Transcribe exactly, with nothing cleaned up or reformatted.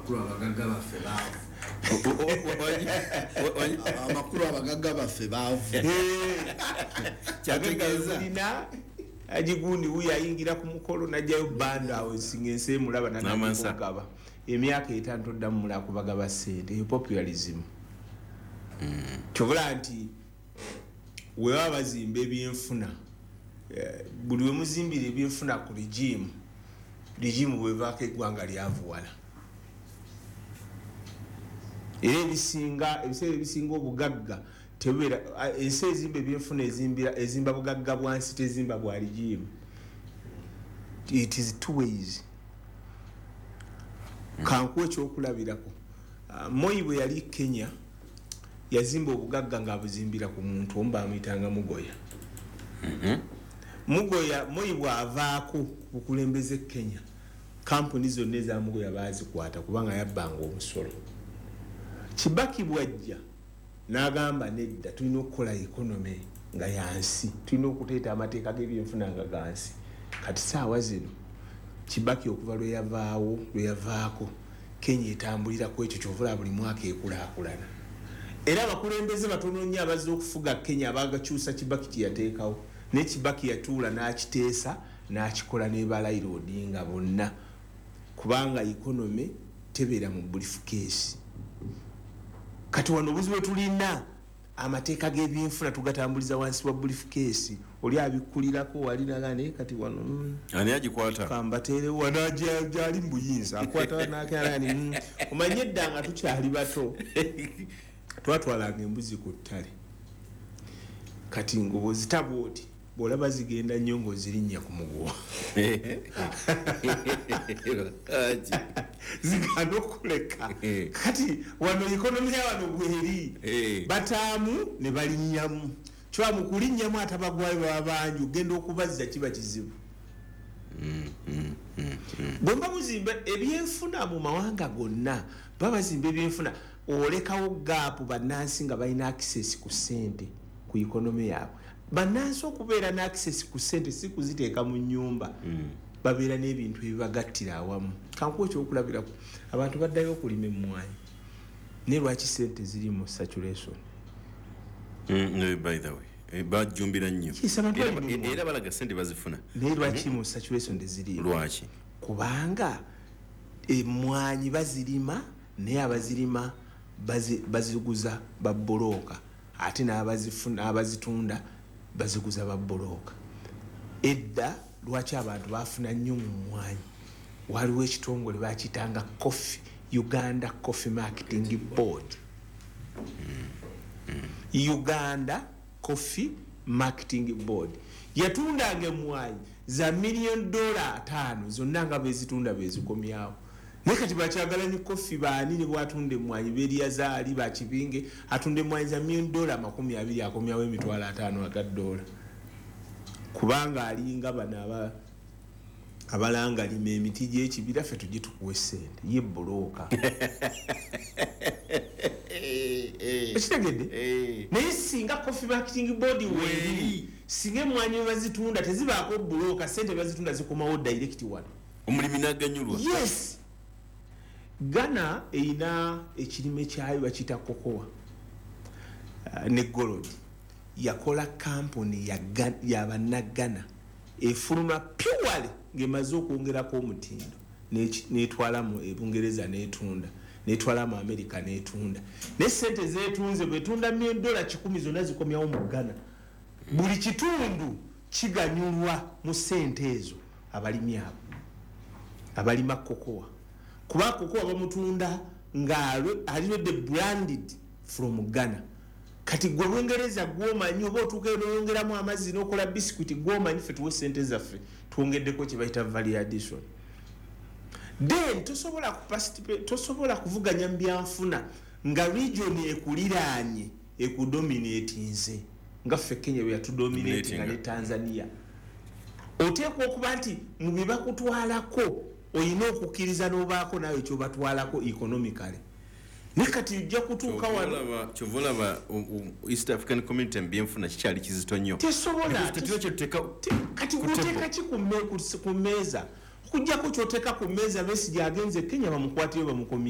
Amakulu abagagga baffe baavu. Amakulu abagagga baffe baavu. Kyategeeza Lina agigundi wuyo ayingira ku mukolo najjayo bando awo singa ensi emulaba. N'amansa. Nanagaba emyaka etaano toddamu mulala kubagaba sente. Eyo populism. Kyobula nti webaba bazimba ebyenfuna, eh, buli wemuzimbira ebyenfuna ku regime, regime bwevaako eggwanga lyavuwala. Era ebisinga, ebiseera ebisinga obugagga tebubeera. a- ensi ezimba ebyenfuna ezimbira ezimba bugagga bwansi, tezimba bwa regime. It is two ways. Kankuwa ekyokulabirako. Ah, Moi bwe yali Kenya yazimba obugagga ng'abuzimbira ku muntu omu, bamuyitanga Mugoya. Mugoya, Moi bw'avaako ku bukulembeze Kenya, kampuni zonna eza Mugoya bazikwata kubanga yabbanga omusolo. Kibaki bwajja n'agamba, "Nedda, tulina okukola economy nga yansi, tulina okuteeta amateeka g'ebyenfuna nga gansi." Kati saawa zino Kibaki okuva lwe yavaawo, lwe yavaako, Kenya etambulira ku ekyo. Kyovula buli mwaka ekulaakulana. Era abakulembeze batono nnyo abazze okufuga Kenya abagakyusa Kibaki kyeyateekawo. Naye Kibaki yatuula n'akiteesa n'akikola ne ba Raila Odinga bonna, kubanga economy tebeera mu briefcase. Kati wano obuzibu bwe tulina, amateeka g'ebyenfuna tugatambuliza wansi wa briefcase. Oli abikkulirako wali naga, naye kati wano mm, Ani agikwata? Kambateere wano gyali mu buyinza akwata nakani. mm. Omanye edda nga tukyali bato twatwalanga embuzi ku ttale. Kati nga bwozitaba oti bwolaba zigenda nnyo ng'ozirinnya ku muguwa, Lwaki? Ziganda okuleka. Kati wano economy ya wano bweri, Eh. bataamu ne balinnyamu. Kyoba mu kulinnyamu atabagwayo baba bangi, ogenda okubazza kiba kizibu. Bwe mba muzimba ebyenfuna mu mawanga gonna, baba bazimba ebyenfuna, olekawo gap, bannansi nga balina access ku ssente ku economy yaabwe. Bannansi okubeera ne access ku ssente si kuziteeka mu nyumba, babeera n'ebintu ebibagattira awamu. Kankuwa ekyokulabirako, abantu baddayo okulima emmwanyi, naye lwaki ssente ziri mu saturation? Mm, no, by the way, eh, bajjumbira nnyo. Yes, abantu Era- balima emmwanyi. Era balaga sente bazifuna. Naye lwaki mu saturation teziriimu? Lwaki? Kubanga emmwanyi bazirima, naye abazirima bazi- baziguza babbulooka, ate n'abazifuna- n'abazitunda baziguza babbulooka. Edda lwaki abantu bafuna nnyo mu mmwanyi? Waliwo ekitongole bakiyitanga Coffee, Uganda Coffee Marketing Board. Uganda Coffee Marketing Board yatundanga emwanyi za million dola ataano zonna nga bezitunda bezikomyawo. Naye kati bakyagalanyi coffee baani? Ne bwatunda emwanyi beryazaali bakibinge, atunda emwanyi za million dola makumi abiri, akomyawo emitwalo ataano aga dola, kubanga alinga bano aba abalanga lima emiti gyekibira, ffe tujje tukuwa esente. Ye broker, ekitegedde? Naye singa Coffee Marketing Board weeri, singa emwanyi webazitunda tezibaako broker, sente bazitunda zikomawo direct wano. Omulimi n'aganyulwa. Yes, Ghana erina ekirime kyayo bakiyita cocoa uh, ne gold. Yakola kampuni yabannaggana efuluma purely ng'emaze okwongerako omutindo, netwala mu Ebungereza netunda, netwala mu America netunda. Naye sente zetunze, bwetunda dola kikumi, zonna zikomyawo mu Ghana. Buli kitundu kiganyulwa mu sente ezo. Abalimi abo abalima cocoa, kuba cocoa bamutunda nga already branded from Ghana. Kati gwe Bungereza gwomanyi oba otuuka noyongeramu amazzi nokola biscuit, gwomanyi, fe tuwe sente zaffe, twongeddeko kyebayita value addition. Then tosobola tosobola kuvuganya mu byanfuna nga region ekuliraanye ekudominatinze nga ffe Kenya bwe yatudominatinga ne Tanzania. Oteekwa okuba nti mu bye bakutwalako olina okukkiriza n'obaako naawe kyobatwalako economically. Naye kati ojja kutuuka wano. Kyova olaba East African Community mu byenfuna kikyali kizito nnyo. Tesobola. Kati gwoteeka ki ku mmeeza? Okugjako kyoteeka ku mmeeza, Besigye agenze Kenya, bamukwatiyo, bamukomye.